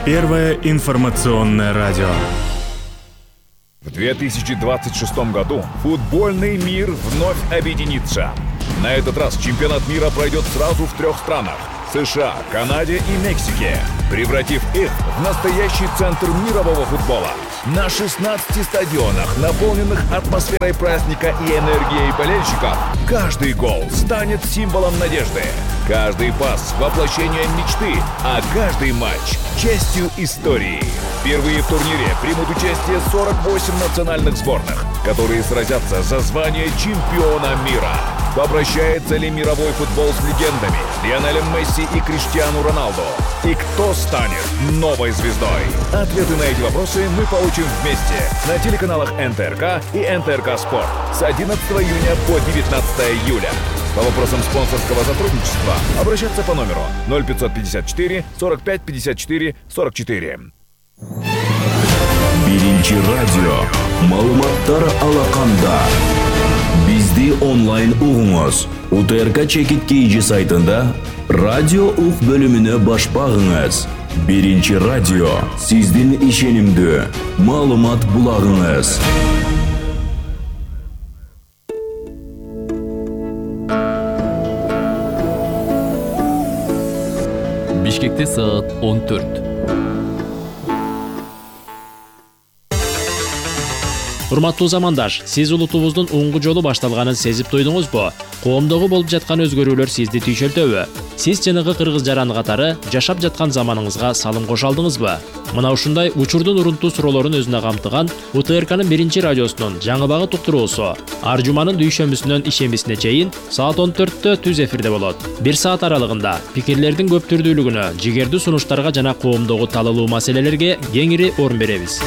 Первое информационное радио. В 2026 году футбольный мир вновь объединится. На этот раз чемпионат мира пройдет сразу в 3 странах – США, Канаде и Мексике, превратив их в настоящий центр мирового футбола. На 16 стадионах, наполненных атмосферой праздника и энергией болельщиков, каждый гол станет символом надежды, каждый пас – воплощением мечты, а каждый матч – частью истории. Впервые в турнире примут участие 48 национальных сборных, которые сразятся за звание чемпиона мира. Попрощается ли мировой футбол с легендами Лионелем Месси и Криштиану Роналду? И кто станет новой звездой? Ответы на эти вопросы мы получим вместе на телеканалах НТРК и НТРК Спорт с 11 июня по 19 июля. По вопросам спонсорского сотрудничества обращаться по номеру 0554 45 54 44. Биринчи радио маалыматтар алаканда. Бизди онлайн угуңуз. УТРК чекит KG сайтында радио ук бөлүмүнө баш багыңыз. Биринчи радио сиздин ишенимдүү маалымат булагыңыз. Бишкекте саат 14. Урматтуу замандаш, сиз улутубуздун оңгу жолу башталганын сезип туйдуңузбу? Коомдогу болуп жаткан өзгөрүүлөр сизди түйшөлтөбү? Сиз жанагы кыргыз жаран катары жашап жаткан заманыңызга салым кошо алдыңызбы? Мына ушундай учурдун урунтуу суроолорун өзүнө камтыган УТРКнын биринчи радиосунун жаңы багыт уктуруусу ар жуманын дүйшөмбүсүнөн ишембисине чейин саат 14-тө түз эфирде болот. 1 саат аралыгында пикирлердин көп түрдүүлүгүнө, жигердүү сунуштарга жана коомдогу талалуу маселелерге кеңири орун беребиз.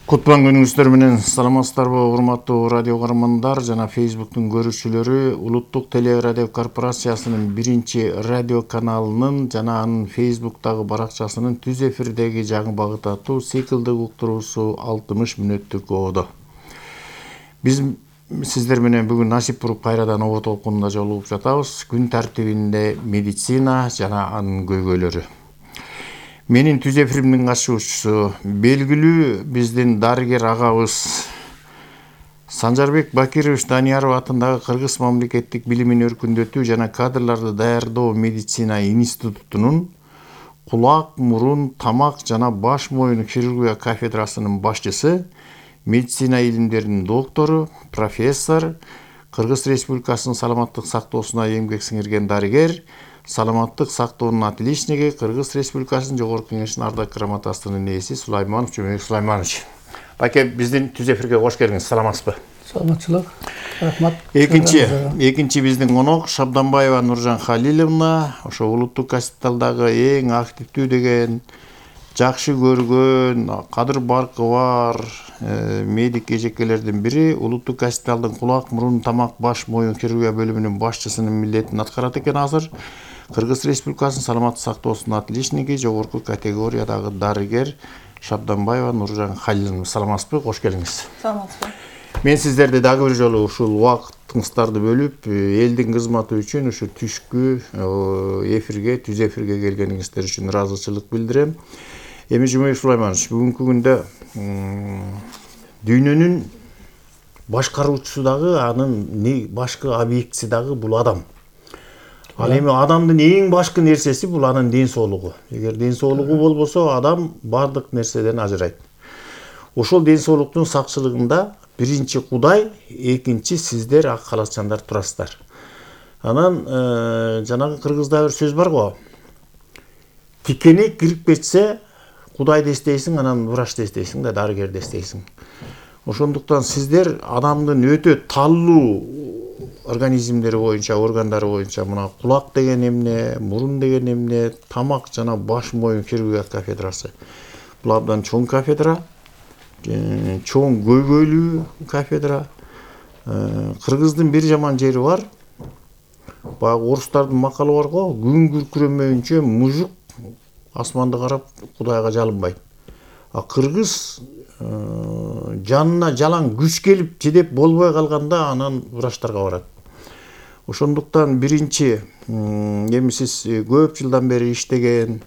Кутман күнүңүздөр менен саламатсыздарбы урматтуу радио каармандар жана Facebook'тун көрүүчүлөрү. Улуттук телерадио корпорациясынын биринчи радио каналынын жана анын Facebook'тагы баракчасынын түз эфирдеги жаңы багыт аттуу циклдык уктуруусу 60 мүнөттүк оодо. Биз сиздер менен бүгүн насип буруп кайрадан оо толкунунда жолугуп жатабыз. Күн тартибинде медицина жана анын көйгөйлөрү. Менин түз эфиримдин катышуучусу белгилүү биздин дарыгер агабыз Санжарбек Бакирович Данияров атындагы Кыргыз мамлекеттик билимин өркүндөтүү жана кадрларды даярдоо медицина институтунун кулак, мурун, тамак жана баш моюн хирургия кафедрасынын башчысы, медицина илимдеринин доктору, профессор, Кыргыз Республикасынын саламаттык сактоосуна эмгек сиңирген дарыгер, саламаттык сактоонун отличниги, Кыргыз Республикасынын жогорку кеңешинин ардак грамотасынын ээси Сулайманов Жумек Сулайманович. Баке, биздин түз эфирге кош келиңиз. Саламатсызбы? Саламатчылык. Рахмат. Экинчи биздин конок Шабданбаева Нуржан Халиловна, ошо улуттук госпиталдагы эң активдүү деген, жакшы көргөн, кадыр баркы бар медик эжекелердин бири, улуттук госпиталдын кулак, мурун, тамак, баш моюн хирургия бөлүмүнүн башчысынын милдетин аткарат экен азыр. Кыргыз Республикасынын саламаттык сактоосунун отличниги, жогорку категориядагы дарыгер Шабданбаева Нуржан Халиловна. Саламатсызбы? Кош келиңиз. Саламатсызбы. Мен сиздерди дагы бир жолу ушул убактыңыздарды бөлүп, элдин кызматы үчүн ушу түшкү эфирге, түз эфирге келгениңиздер үчүн ыраазычылык билдирем. Эми Жумек Сулайманович, бүгүнкү күндө дүйнөнүн башкаруучусу дагы, анын башкы объектиси дагы бул адам. Ал эми адамдын эң башкы нерсеси бул анын ден соолугу. Эгер ден соолугу болбосо, адам бардык нерседен ажырайт. Ошол ден соолуктун сакчылыгында биринчи Кудай, экинчи сиздер ак калачандар турасыздар. Анан жанагы кыргызда бир сөз бар го. Тикенек кирип кетсе, Кудайды эстейсиң, анан врачты эстейсиң да, дарыгерди эстейсиң. Ошондуктан сиздер адамдын өтө таллуу организмдери боюнча, органдары боюнча мына кулак деген эмне, мурун деген эмне, тамак жана баш моюн хирургия кафедрасы. Бул абдан чоң кафедра, чоң көйгөйлүү кафедра. Кыргыздын бир жаман жери бар. Баягы орустардын макалы бар го, күн күркүрөмөйүнчө мужук асманды карап Кудайга жалынбайт. А кыргыз жанына жалаң күч келип жедеп болбой калганда анан врачтарга барат. Ошондуктан биринчи эми сиз көп жылдан бери иштеген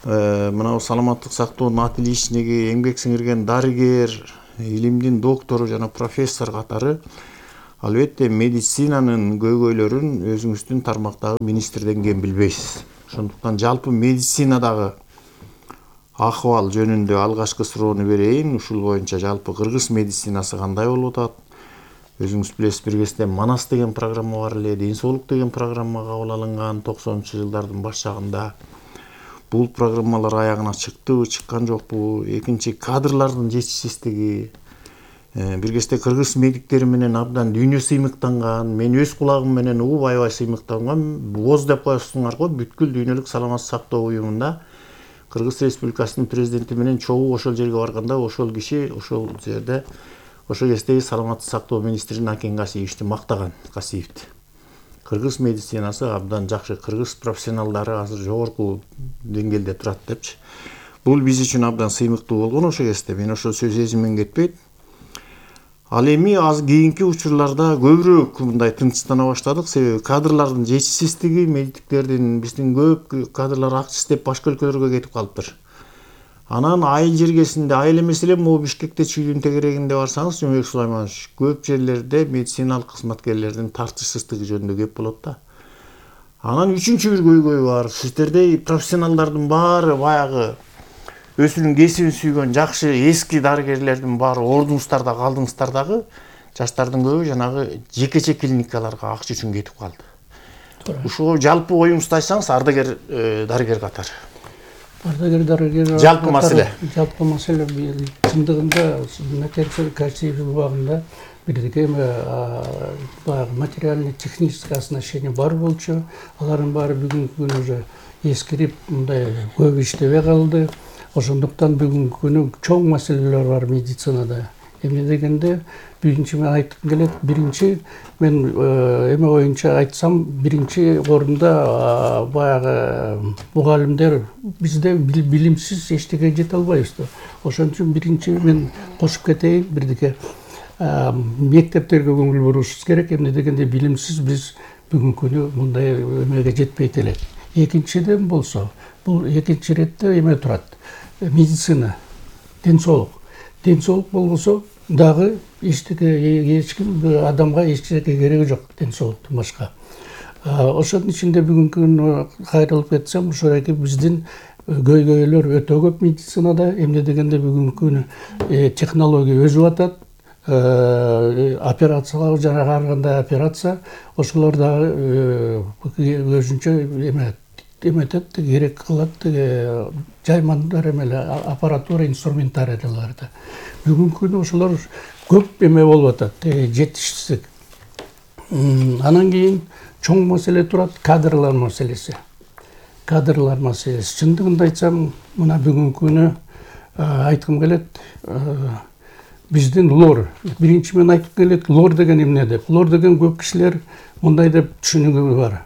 мына саламаттык сактоонун отличниги, эмгек сиңирген дарыгер, илимдин доктору жана профессор катары албетте медицинанын көйгөйлөрүн өзүңүздүн тармактагы министрден кем билбейсиз. Ошондуктан жалпы медицинадагы акыбал жөнүндө алгачкы суроону берейин. Ушул боюнча жалпы кыргыз медицинасы кандай болуп атат? Өзүңүз билесиз, бир кезде Манас деген программа бар эле, Ден соолук деген программа кабыл алынган 90-жылдардын баш жагында. Бул программалар аягына чыктыбы, чыккан жокпу? Экинчи, кадрлардын жетишсиздиги. Бир кезде кыргыз медиктери менен абдан дүйнө сыймыктанган, мен өз кулагым менен угуп аябай сыймыктанган. ВОЗ деп коесуңар го, бүткүл дүйнөлүк саламаттык сактоо уюмунда Кыргыз Республикасынын президенти менен чогуу ошол жерге барганда ошол киши ошол жерде ошол кездеги саламаттык сактоо министри Накен Касиевичти мактаган. Касиевди. Кыргыз медицинасы абдан жакшы, кыргыз профессионалдары азыр жогорку деңгээлде турат депчи. Бул биз үчүн абдан сыймыктуу болгон ошол кезде. Мен ошол сөз эсимден кетпейт. Ал эми аз кийинки учурларда көбүрөөк мындай тынчтана баштадык, себеби кадрлардын жетишсиздиги, медиктердин биздин көп кадрлар акча издеп башка өлкөлөргө кетип калыптыр. Анан айыл жергесинде, айыл эмес эле могу Бишкекте чүйдүн тегерегинде барсаңыз, Жомбек Сулайманович, көп жерлерде медициналык кызматкерлердин тартышсыздыгы жөнүндө кеп болот да. Анан үчүнчү бир көйгөй бар. Сиздердей профессионалдардын баары баягы өзүнүн кесибин сүйгөн жакшы эски дарыгерлердин баары ордуңуздарда калдыңыздар дагы, жаштардын көбү жанагы жекече клиникаларга акча үчүн кетип калды. Ушуга жалпы оюңузду айтсаңыз, ардагер дарыгер катары. Ардагер дарыгер жалпы маселе. Жалпы маселе чындыгында Накен Касиев убагында бирдеке баягы материальный технический оснащение бар болчу. Алардын баары бүгүнкү күнү уже эскирип, мындай көп иштебей калды. Ошондуктан бүгүнкү күнү чоң маселелер бар медицинада. Эмне дегенде, биринчи мен айткым келет, биринчи мен эме боюнча айтсам, биринчи орунда баягы мугалимдер бизде билимсиз эчтеке жете албайбыз да. Ошон үчүн биринчи мен кошуп кетейин, бирдеке мектептерге көңүл бурушубуз керек. Эмне дегенде билимсиз биз бүгүнкү күнү мындай эмеге жетпейт элек. Экинчиден болсо, бул экинчи иретте эме турат. Медицина, ден соолук. Ден соолук болбосо дагы эч ким адамга эчтеке кереги жок, ден соолуктун башка. Ошонун ичинде бүгүнкү күнү кайрылып кетсем, ошоки биздин көйгөйлөр өтө көп медицинада. Эмне дегенде бүгүнкү күнү технология өсүп атат. Операциялар жанагы ар кандай операция, ошолор дагы өзүнчө эметет, керек кылат, жаймандар эмеле аппаратура, инструментарияларды. Бүгүнкү күнү ошолор көп эме болуп атат, жетишсиздик. Анан кийин чоң маселе турат, кадрлар маселеси. Кадрлар маселеси. Чындыгында айтсам, мына бүгүнкү күнү айткым келет, биздин лор. Биринчи мен айтып келет, лор деген эмне деп. Лор деген көп кишилер мындай деп түшүнүгү бар.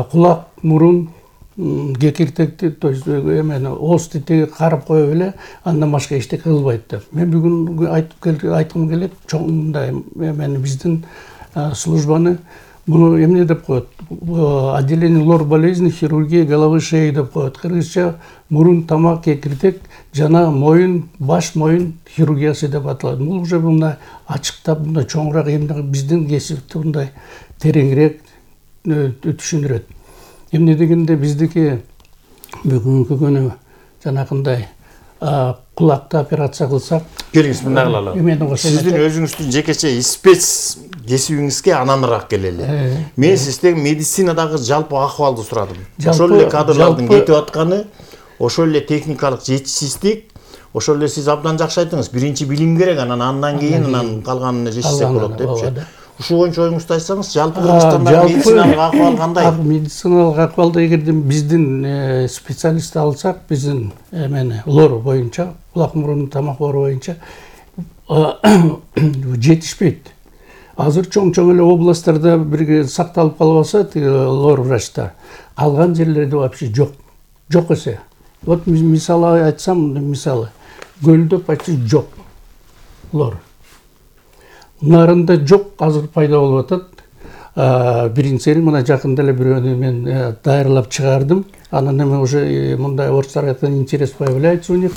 Кулак, мурун, кекиртекти, то есть эмени оозду карап коюп эле, андан башка эчтеке кылбайт деп. Мен бүгүн айткым келет, чоң мындай эмени биздин службаны буну эмне деп коет? Отделение лор болезни, хирургия головы шеи деп коет. Кыргызча мурун, тамак, кекиртек жана моюн, баш моюн хирургиясы деп аталат. Бул уже мындай ачыктап, мындай чоңураак эмне биздин кесипти мындай тереңирээк түшүндүрөт. Эмне дегенде биздики бүгүнкү күнү жанагындай кулакты операция кылсак, келиңиз мындай кылалы. Сиздин өзүңүздүн жекече спец кесибиңизге ананыраак келели. Мен сизден медицинадагы жалпы акыбалды сурадым. Ошол эле кадрлардын кетип атканы, ошол эле техникалык жетишсиздик, ошол эле сиз абдан жакшы айттыңыз. Биринчи билим керек, андан кийин анан калганын жешсек болот депчи. Ушул боюнча оюңузду айтсаңыз, жалпы Кыргызстанда медициналык акыбал кандай? Медициналык акыбалды эгерде биздин специалистти алсак, биздин эмени лор боюнча, кулак мурун тамак оору боюнча жетишпейт. Азыр чоң эле областтарда бирге сакталып калбаса, лор врачтар, калган жерлерде вообще жок. Жок эсе. Вот мисалы айтсам, мисалы Көлдө почти жок. лор. Нарында жок, азыр пайда болуп атат. Биринчиси мына жакында эле бирөөнү мен дайырлап чыгардым. Анан эми уже мындай орустар айткан интерес появляется у них.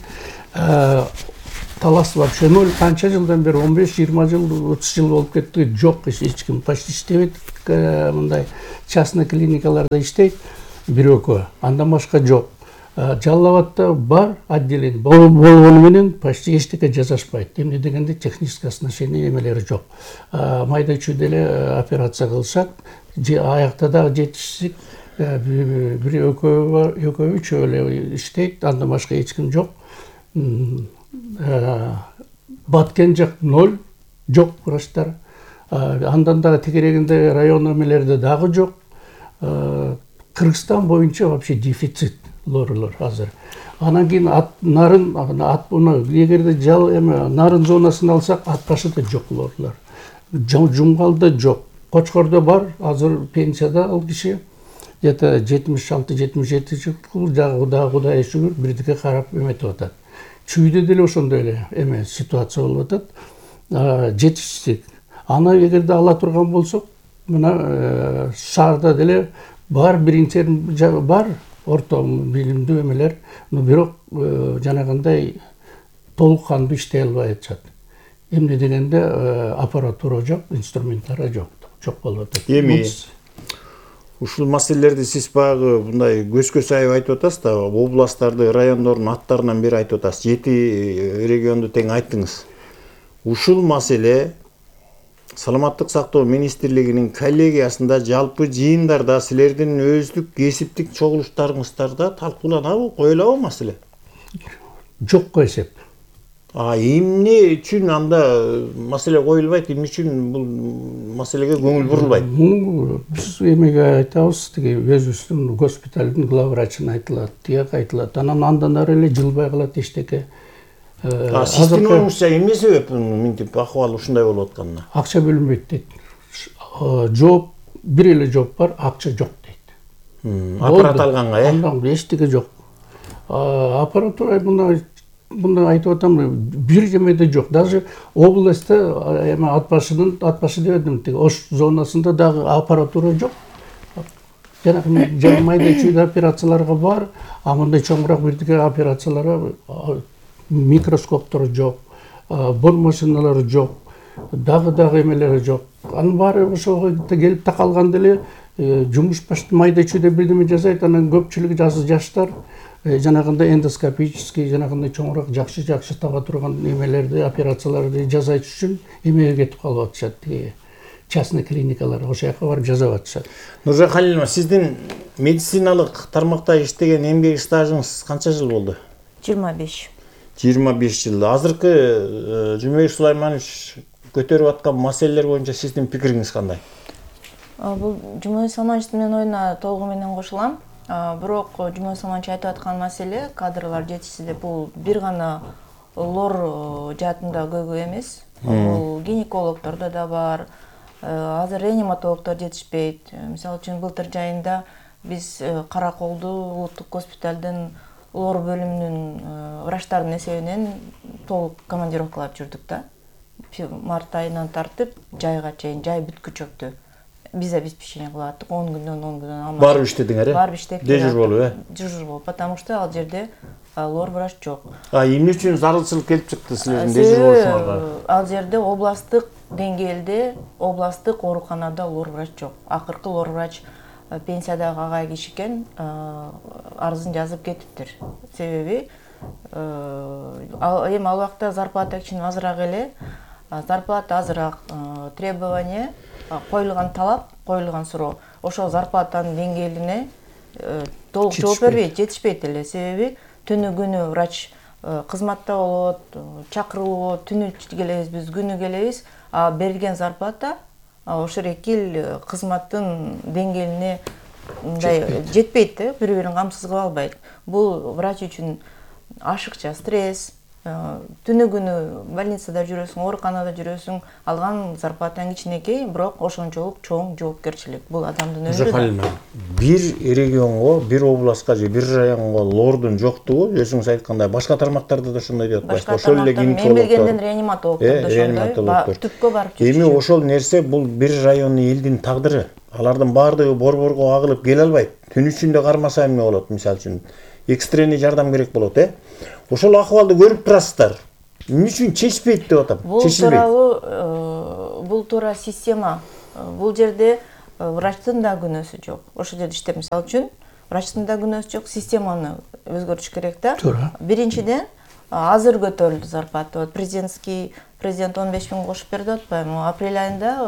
Талас вообще ноль. Канча жылдан бери 15-20 жыл, 30 жыл болуп кетти. Жок, эч ким почти иштебейт. Мындай частный клиникаларда иштейт. Бирөкө. Андан башка жок. Жалал Абадта бар отделение. Болгону менен почти эчтеке жасашпайт. Эмне дегенде техническое оснащение эмелери жок. Майда чүйдө эле операция кылышат. Аякта дагы жетишсиз бир экөө үчөө эле иштейт. Андан башка эч ким жок. Баткен жак ноль, жок врачтар. Андан дагы тегерегинде район эмелерде дагы жок. Кыргызстан боюнча вообще дефицит лорлор азыр. Анан кийин нарын эгерде нарын зонасын алсак, ат башыда жок лорлор. Жумгалда жок. Кочкордо бар, азыр пенсияда ал киши. Где-то 76-77 жыл дагы Кудайга шүгүр бирдикке карап эметип атат. Чүйдө деле ошондой эле эме ситуация болуп атат. Жетишсиздик. Аны эгерде ала турган болсок, мына шаарда деле бар биринчи бар орто билимдүү эмелер, но бирок жанагындай толук кандуу иштей албай атышат. Эмне дегенде аппаратура жок, инструментары жок болуп атат. Эми ушул маселелерди сиз баягы мындай көзгө сайып айтып атасыз да, областтарды, райондордун аттарынан бери айтып атасыз. 7 регионду тең айттыңыз. Ушул маселе Саламаттык сактоо министрлигинин коллегиясында, жалпы жыйындарда, силердин өздүк кесиптик чогулуштарыңыздарда талкууланабы, коюлабы маселе? Жокко эсеп. Эмне үчүн анда маселе коюлбайт, эмне үчүн бул маселеге көңүл бурулбайт? Биз эмеге айтабыз, тиги өзүбүздүн госпиталдын главврачына айтылат, тияк айтылат. Андан ары эле жылбай калат эчтеке. Сиздин оюңузча эмне себеп мынтип акыбал ушундай болуп атканына? Акча бөлүнбөйт дейт. Жооп, бир эле жооп бар, акча жок дейт. Аппарат алганга, Андан эчтеке жок. Аппаратура мындай айтып атам, бир жемеде жок. Даже областта эме ат башы дебедим, тиги Ош зонасында дагы аппаратура жок. Жанагы майда чүйдө операцияларга бар, а мындай чоңураак бирдике операцияларга микроскоптор жок, бор машиналары жок, дагы эмелери жок. Анын баары ошого келип такалганда эле жумуш майда чүйдө бирдеме жасайт, анан көпчүлүгү жаштар жанагындай эндоскопический, жанагындай чоңураак жакшы таба турган эмелерди, операцияларды жасайт үчүн эмеге кетип калып атышат. Частный клиникалар ошол жака барып жасап атышат. Нуржан Халиловна, сиздин медициналык тармакта иштеген эмгек стажыңыз канча жыл болду? 25. 25 жыл. Азыркы Жумабек Сулайманович көтөрүп аткан маселелер боюнча сиздин пикириңиз кандай? Бул Жумабек Сулаймановичтин оюна толугу менен кошулам. Бирок Жумабек Сулайманович айтып аткан маселе кадрлар жетишсиз деп, бул бир гана лор жаатында көбү эмес. Бул гинекологдордо да бар. Азыр реаниматологдор жетишпейт. Мисалы үчүн былтыр жайында биз Караколду улуттук госпиталдын лор бөлүмүнүн врачтардын эсебинен толук командировкалап жүрдүк да. Март айынан тартып жайга чейин, жай бүткүчөктү. Биз обеспечение кылып аттык 10 күндөн алмай. Барып иштедиңер, Барып иштеп. Дежур болуп, Дежур болуп, потому что ал жерде лор врач жок. Эмне үчүн зарылчылык келип чыкты силердин дежур болушуңарга? Ал жерде областтык деңгээлде, областтык ооруканада лор врач жок. Акыркы лор врач пенсиядагы агай киши экен, арызын жазып кетиптир. Себеби эми ал убакта зарплата кичине азыраак эле, зарплата азыраак, требование, коюлган талап, коюлган суроо. Ошол зарплатанын деңгээлине толук жооп бербейт, жетишпейт эле. Себеби түнү күнү врач кызматта болот, чакырылып, түнү келебиз, биз күнү келебиз, а берилген зарплата ошол экил кызматтын деңгээлине жетпейт да, бири-бирин камсыз кыла албайт. Бул врач үчүн ашыкча стресс, түнү күнү больницада жүрөсүң, ооруканада жүрөсүң, алган зарплатаң кичинекей, бирок ошончолук чоң жоопкерчилик. Бул адамдын өмүрү. Халина, бир регионго, бир областка же бир районго лордун жоктугу, өзүңүз айткандай, башка тармактарда да ошондой деп атпайсызбы? Ошол эле мен билгенден реаниматологдор ошондой түпкө барып жүрүшүшү. Эми ошол нерсе бул бир райондун элдин тагдыры. Алардын баардыгы борборго агылып келе албайт. Түн ичинде кармаса эмне болот, мисалы үчүн? Экстренный жардам керек болот, Ошол акыбалды көрүп турасыздар. Эмне үчүн чечпейт деп атам? Бул туура система. Бул жерде врачтын да күнөөсү жок. Ошол жерде иштеп, мисалы үчүн, врачтын да күнөөсү жок, системаны өзгөртүш керек да. Биринчиден, азыр көтөрүлдү зарплата. Президент 15 000 кошуп берди атпайбы? Апрель айында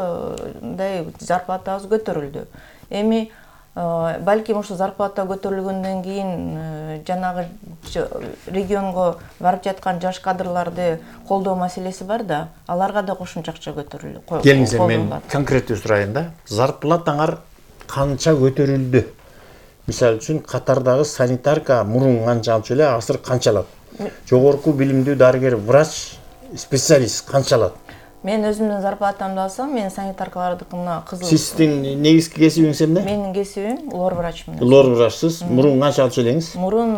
мындай зарплатабыз көтөрүлдү. Эми балким ошо зарплата көтөрүлгөндөн кийин жанагы регионго барып жаткан жаш кадрларды колдоо маселеси бар да, аларга да кошумча акча көтөрүлдү. Келиңиз, мен конкреттүү сурайын да. Зарплатаңар канча көтөрүлдү? Мисалы үчүн катардагы санитарка мурун канча алчу эле, азыр канча алат? Жогорку билимдүү дарыгер, врач, специалист канча алат? Мен өзүмдүн зарплатамды алсам, мен санитаркалардыкына кызыл. Сиздин негизги кесибиңиз эмне? Менин кесибим лор врачмын. Лор врачсыз. Мурун канча алчу элеңиз? Мурун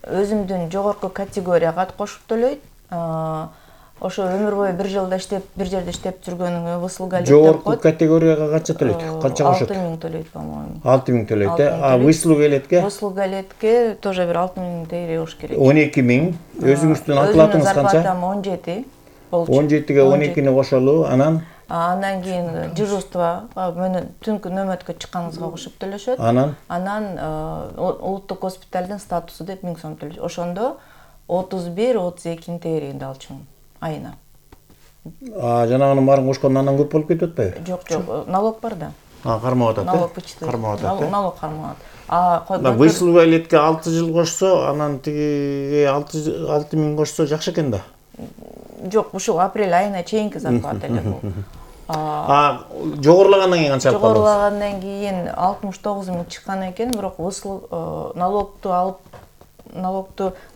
өзүмдүн жогорку категорияга кошуп төлөйт. Ошо өмүр бою бир жерде иштеп жүргөнүңө выслуга элек деп коет. Жогорку категорияга канча төлөйт? Канча кошот? 6 000 төлөйт, по-моему. 6 000 төлөйт, А выслуга элетке? Выслуга элетке тоже бир 6 000 тегере болуш керек. 12 000. Өзүңүздүн оклатыңыз канча? Зарплатам 17. 17ге 12-ни кошолу, анан кийин дежурство, түнкү нөмөткө чыкканыңызга кошуп төлөшөт. Анан улуттук госпиталдын статусу деп 1000 сом төлөшөт. Ошондо 31-32 тегерегинде алчумун айына. Жанагынын баарын кошкондо андан көп болуп кетип атпайбы? Жок, налог бар да. Кармап атат, налог вычитывает. Налог кармап атат. Выслуга элетке 6 жыл кошсо, анан тиги 6 000 кошсо жакшы экен да. Жок, ушул апрель айына чейинки зарплата эле бул. Жогорулагандан кийин канча алып калдыңыз? Жогорулагандан кийин 69 000 чыккан экен, бирок налогту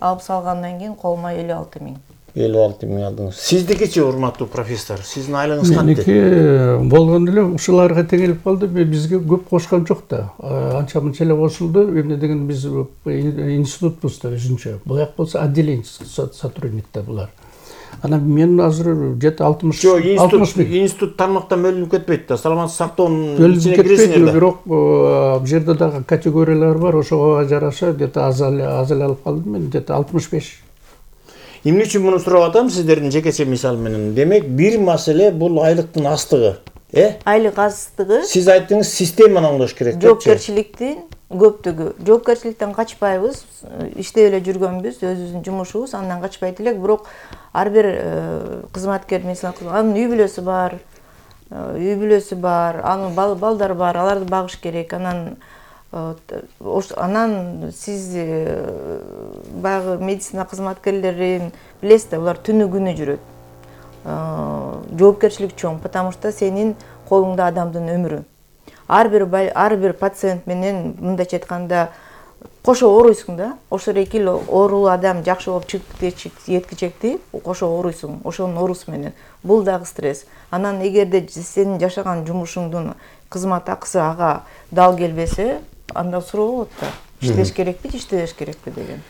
алып салгандан кийин колума 56 000. 56 000 алдыңыз. Сиздикичи, урматтуу профессор, сиздин айлыгыңыз кантип? Меники болгондо эле ушуларга теңелип калды, бизге көп кошкон жок да. Анча-мынча эле кошулду. Эмне деген биз институтбуз да өзүнчө. Буяк болсо отделение сотрудник да булар. Анан мен азыр где-то 60 институт тармактан бөлүнүп кетпейт да. Саламаттык сактоонун ичине киресиңер да. Бирок бу жерде дагы категориялар бар, ошого жараша где-то аз эле алып калдым мен, где-то 65. Эмне үчүн муну сурап атам сиздердин жекече мисал менен? Демек, бир маселе бул айлыктын астыгы. Айлык астыгы. Сиз айттыңыз, системаны оңдош керек. Жоопкерчиликтин көптүгү. Жоопкерчиликтен качпайбыз, иштеп эле жүргөнбүз, өзүбүздүн жумушубуз, андан качпайт элек, бирок ар бир кызматкер анын үй бүлөсү бар, анын балдары бар, аларды багыш керек. Анан сиз баягы медицина кызматкерлерин билесиз да, булар түнү күнү жүрөт. Жоопкерчилик чоң, потому что сенин колуңда адамдын өмүрү. Ар бир пациент менен мындайча айтканда кошо ооруйсуң да. Ошол эки оорулуу адам жакшы болуп жеткичекти, кошо ооруйсуң, ошонун оорусу менен. Бул дагы стресс. Анан эгерде сенин жашаган жумушуңдун кызмат акысы ага дал келбесе, анда суроо болот да. Иштеш керекпи, иштебеш керекпи деген.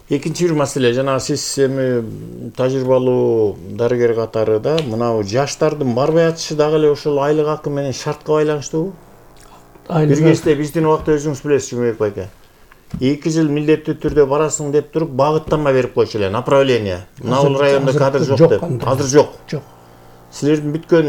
Экинчи бир маселе, жана сиз эми тажрыйбалуу дарыгер катары да, мынау жаштардын барбай атышы дагы эле ошол айлык акы менен шартка байланыштуубу? Бир кезде биздин убакта өзүңүз билесиз, Жумабек байке. 2 жыл милдеттүү түрдө барасың деп туруп, багыттанма берип койчу эле, направление. Мына районда кадр жок деп. Азыр жок. Жок. Силердин бүткөн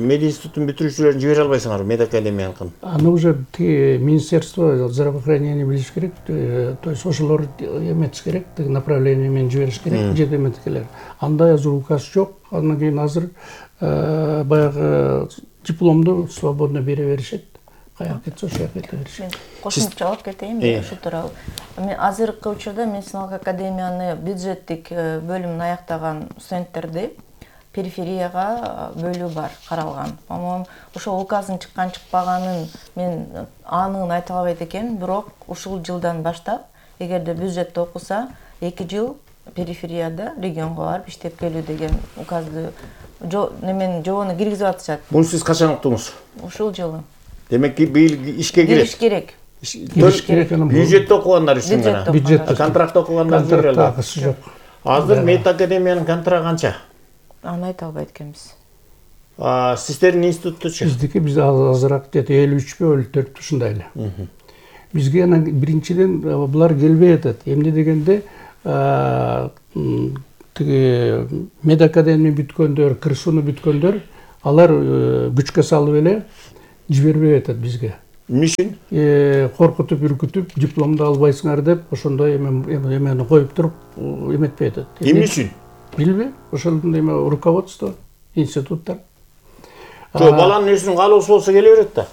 мединституттун бүтүрүүчүлөрүн жибере албайсыңарбы, медакадемияныкын? Аны уже министерство здравоохранения билиш керек, то есть ошолор эметиш керек, направление менен жибериш керек, жетеметкелер. Андай азыр указ жок, андан кийин азыр баягы дипломду свободно бере беришет. Каяк кетсе ошол жака кете беришет. Кошумча жаап кетейин, ушул тууралуу. Мен азыркы учурда медициналык академияны бюджеттик бөлүмүн аяктаган студенттерди периферияга бөлүү бар, каралган. По-моему, ошол указдын чыккан-чыкпаганын мен анын айта албайт экен, бирок ушул жылдан баштап, эгерде бюджетте окуса, 2 жыл периферияда регионго барып иштеп келүү деген указды немен жобону киргизип атышат. Муну сиз качан уктуңуз? Ушул жылы. Демек быйыл ишке Кириш керек. Кириш керек анан бюджетте окугандар үчүн гана. Бюджетте. Контрактта окугандар контракт акысы жок. Азыр Мед академиянын контрагты канча? Аны айта албайт экенбиз. Сиздердин институттучу? Биздики биз азыраак 53 54 ушундай эле. Бизге анан биринчиден булар келбей атат. Эмне дегенде тиги Мед академия бүткөндөр, КырСУну бүткөндөр, алар күчкө салып эле жибербей атат бизге. Эмне үчүн? Коркутуп, үркүтүп, дипломду албайсыңар деп, ошондой эмени коюп туруп эметпей атат. Эмне үчүн? Билбейм. Ошондун руководство, институттар. Жок, баланын өзүнүн каалоосу болсо келе берет да.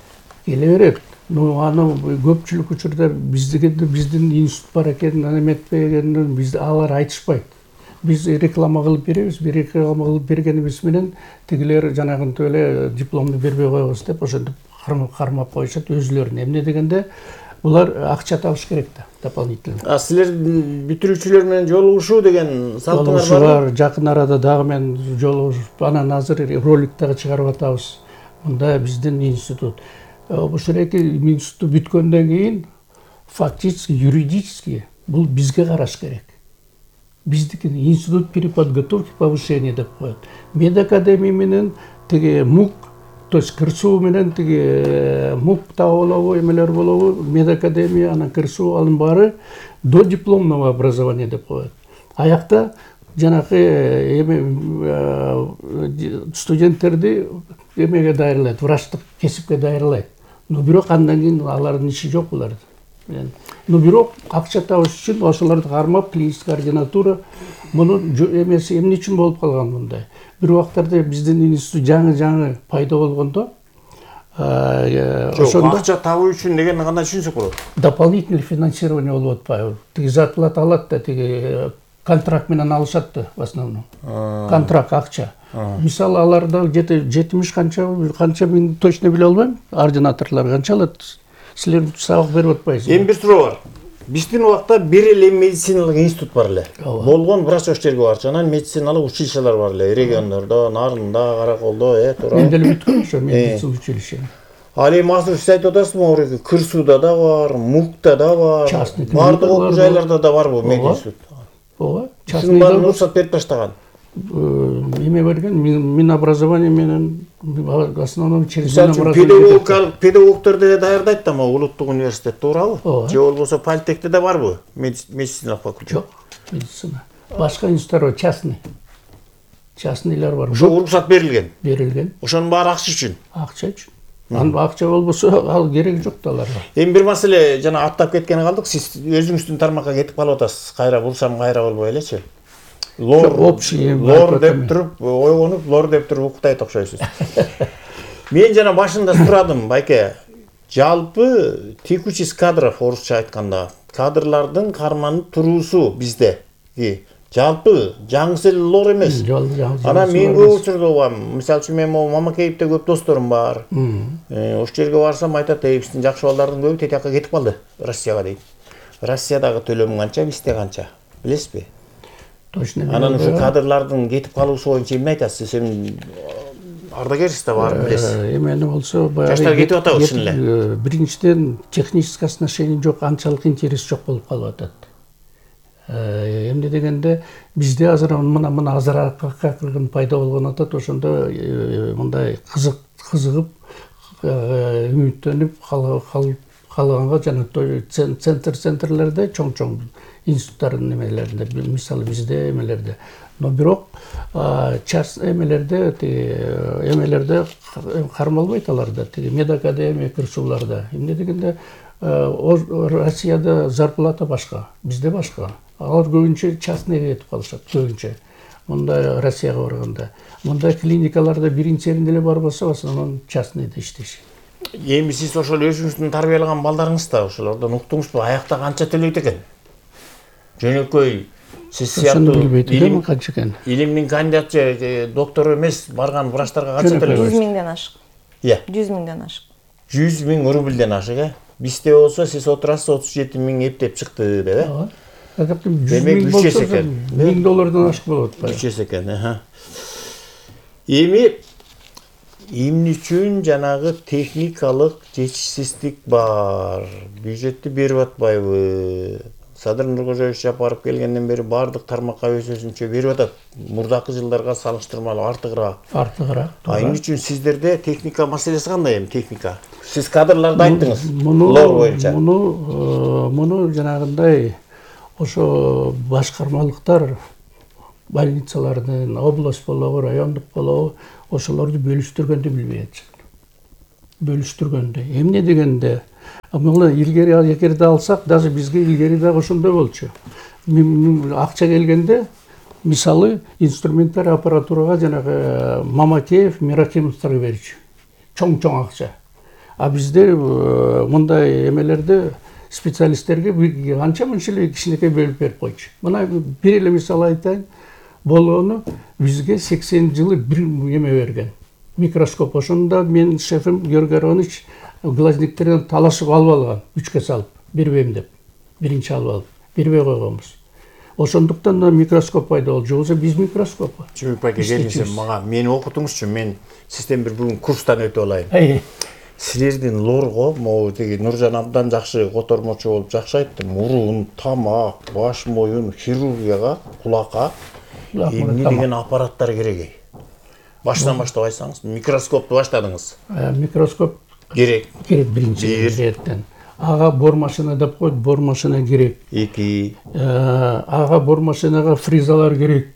Келе берет. Аны көпчүлүк учурда биздин институт бар экенин, эметпей экенин алар айтышпайт. Биз реклама кылып беребиз, реклама кылып бергенибиз менен тигилер жанагынтип эле дипломду бербей коебуз деп ошентип кармап коюшат өзүлөрүн. Эмне дегенде булар акча табыш керек да, дополнительно. Силер бүтүрүүчүлөр менен жолугушуу деген салтыңар бар? Жакын арада дагы мен жолугушуп, анан азыр ролик дагы чыгарып атабыз. Мында биздин институт. Ошол эки институт бүткөндөн кийин фактически, юридически бул бизге караш керек. Биздики институт при подготовке повышения деп коет. Мед академия менен тиги МУК, то есть КырСУ менен тиги МУК да болобу, эмелер болобу, Мед академия, анан КырСУ анын баары до дипломного образования деп коет. Аякта жанакы студенттерди эмеге дайырлайт, врачтык кесипке дайырлайт. Но бирок андан кийин алардын иши жок буларда. Но бирок акча табыш үчүн ошолорду кармап, клинический ординатура муну эмеси эмне үчүн болуп калган мындай. Бир убактарда биздин институт жаңы пайда болгондо ошондо акча табуу үчүн дегенди кандай түшүнсөк болот? Дополнительный финансирование болуп атпайбы? Тиги зарплата алат да, тиги контракт менен алышат да в основном. Контракт акча. Мисалы аларда где-то 70 канча мен точно биле албайм. Ординаторлор канча алат? Силер сабак берип атпайсызбы? Эми бир суроо бар. Биздин убакта бир эле медициналык институт бар эле. Болгон врач өчтөргө барчу. Анан медициналык училищелер бар эле. Региондордо, Нарында, Караколдо, туура. Мен деле бүткөм ошо медицина училище. Ал эми азыр сиз айтып атасызбы, КырСУда да бар, МУКта да бар. Бардык окуу жайларда да барбы мединститут? Ооба. Частный баарын уруксат берип таштаган. Эме берген, Минобразование менен основном через Минобразование. Педагогдор деле даярдайт да, улуттук университет, туурабы? Же болбосо политехте да барбы медициналык факультет? Жок, медицина. Башка институттар частный. Частныйлар бар. Ошо уруксат берилген. Берилген. Ошонун баары акча үчүн. Акча үчүн. Анын акча болбосо ал керек жок да аларга. Эми бир маселе жана аттап кеткени калдык. Сиз өзүңүздүн тармакка кетип калып атасыз. Кайра бурсам кайра болбой элечи. Лор деп туруп, ойгонуп, лор деп туруп уктайт окшойсуз. Мен жана башында сурадым, байке. Жалпы текучесть кадров орусча айтканда, кадрлардын карманып туруусу bizde. Жалпы жаңысы эле лор эмес. Анан мен көп учурда угам. Мисалы үчүн мен Мамакеевде көп досторум бар. Ош жерге барсам айтат, биздин жакшы балдардын көбү тетиякка кетип калды Россияга дейт. Россиядагы төлөм канча, бизде канча? Билесизби? Точно. Анан ушу кадрлардын кетип калуусу боюнча эмне айтасыз? Сен ардагерсиз да барып билесиз. Эмени болсо баягы жаштар кетип атабы чын эле. Биринчиден технический отношение жок, анчалык интерес жок болуп калып атат. Эмне дегенде бизде азыр мына азыракка кыргын пайда болгон атат, ошондо мындай кызыгып, үмүттөнүп калганга жана центрлерде чоң институттардын эмелеринде, мисалы бизде эмелерде. Но бирок часть эмелерде кармалбайт аларда, тиги Мед академия, КырСУларда. Эмне дегенде Россияда зарплата башка, бизде башка. Алар көбүнчө частныйга кетип калышат, көбүнчө. Мындай Россияга барганда. Мындай клиникаларда биринчи эле барбаса, в основном частныйда иштешет. Эми сиз ошол өзүңүздүн тарбиялаган балдарыңызда ошолордон уктуңузбу, аякта канча төлөйт экен? Жөнөкөй сиз сыяктуу илимдин кандидаты, доктор эмес барган врачтарга канча төлөйт? 100 миңден ашык. 100 миңден ашык. 100 миң рубльден ашык, Бизде болсо сиз отурасыз 37 миң эптеп чыкты деп, Демек 3 эсе экен. $1000 ашык болот. 3 эсе экен. Эми эмне үчүн жанагы техникалык жетишсиздик бар? Бюджетти берип атпайбы? Садыр Нуркожоевич Жапаров келгенден бери бардык тармакка өзүнчө берип атат. Мурдакы жылдарга салыштырмалуу артыгыраак. Эмне үчүн сиздерде техника маселеси кандай эми техника? Сиз кадрларды айттыңыз. Лор боюнча. Муну жанагындай ошо башкармалыктар больницалардын область болобу, райондук болобу ошолорду бөлүштүргөндү билбей атышат. Бөлүштүргөндү. Эмне дегенде, мына илгери эгерде алсак, даже бизге илгери дагы ошондой болчу. Акча келгенде, мисалы, инструментар аппаратурага жанагы Мамакеев, Миракимовдорго берчү. Чоң акча. А бизде мындай эмелерде специалисттерге анча-мынча эле кичинекей бөлүп берип койчу. Мына бир эле мисал айтайын. Болгону бизге 80 жылы бир эме берген. Микроскоп. Ошондо менин шефим Георгий Аронович глазниктерден талашып алып алган, 3кө салып, бербейм деп. Биринчи алып алып, бербей койгонбуз. Ошондуктан да микроскоп пайда болду. Жоксо биз микроскоп. Чүмүк байке, келиңиз мага мени окутуңузчу. Мен сизден бир бүгүн курстан өтүп алайын. Силердин лорго, могу теги Нуржан абдан жакшы котормочу болуп жакшы айтты. Мурун, тамак, баш моюн хирургияга, кулакка эмне деген аппараттар керек? Баштан баштап айтсаңыз, микроскопту баштадыңыз. Микроскоп керек биринчиден. Ага бор машина деп коет, бор машина керек. 2. Ага бор машинага фрезалар керек.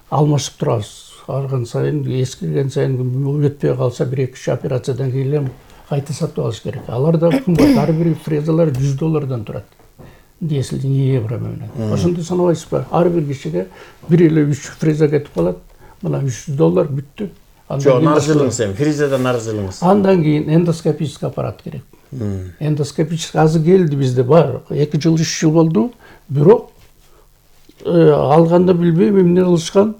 Алмашып турабыз. Арган сайын, эскирген сайын өтпөй калса 1-2 операциядан кийин кайта сатып алыш керек. Алар да кымбат. Ар бир фрезалар $100 турат. Десил евро менен. Ошондой санабайсызбы? Ар бир кишиге бир эле 3 фреза кетип калат. Мына $100 бүттү. Жок, нарзылыңыз эми, фрезадан нарзылыңыз. Андан кийин эндоскопический аппарат керек. Эндоскопический азыр келди бизде бар. 2 жыл 3 жыл болду. Бирок алганда билбейм эмне кылышкан.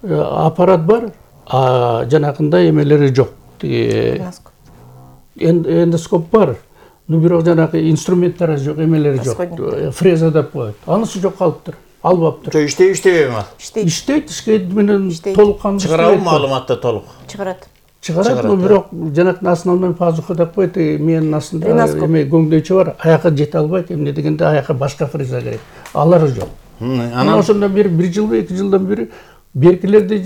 Аппарат бар, а жанагындай эмелери жок. Эндоскоп бар. Ну бирок жанагы инструменттер жок, эмелери жок. Фреза деп коет. Анысы жок калыптыр. Албаптыр. Жок, иштейбейби ал? Иштейт, менен толук кандуу. Чыгарабы маалыматты толук? Чыгарат, но бирок жанагы основной пазуха деп коет, менин астында эме көңдөйчү бар, аяка жете албайт, эмне дегенде аяка башка фреза керек. Алар жок. Анан ошондо 1 жылда 2 жылдан бери беркилерди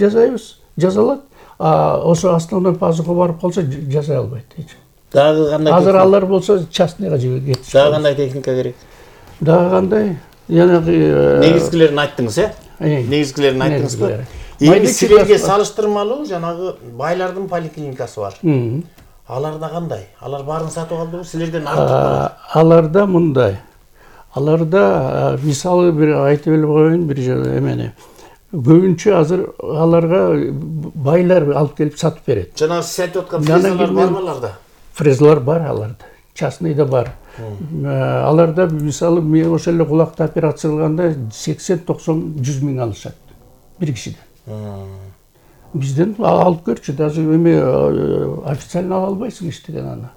жазалат, а ошо основной пазуха барып калса жасай албайт. Дагы кандай? Азыр алар болсо частныйга кетишет. Дагы кандай техника керек? Дагы кандай? Жанагы негизгилерин айттыңыз, Негизгилерин айттыңызбы? Эми силерге салыштырмалуу жанагы байлардын поликлиникасы бар. Аларда кандай? Алар баарын сатып алдыбы? Силерден артык барат? Аларда мындай. Аларда мисалы бир айтып эле коеюн, бир эмени. Көбүнчө азыр аларга байлар алып келип сатып берет. Жанагы сиз айтып аткан фрезалар барбы аларда? Фрезалар бар аларда. Частныйда бар. Аларда мисалы мен ошол эле кулакты операция кылганда 80-90-100 миң алышат бир кишиден. Бизден алып көрчү, даже эме официально ала албайсың иштеген аны.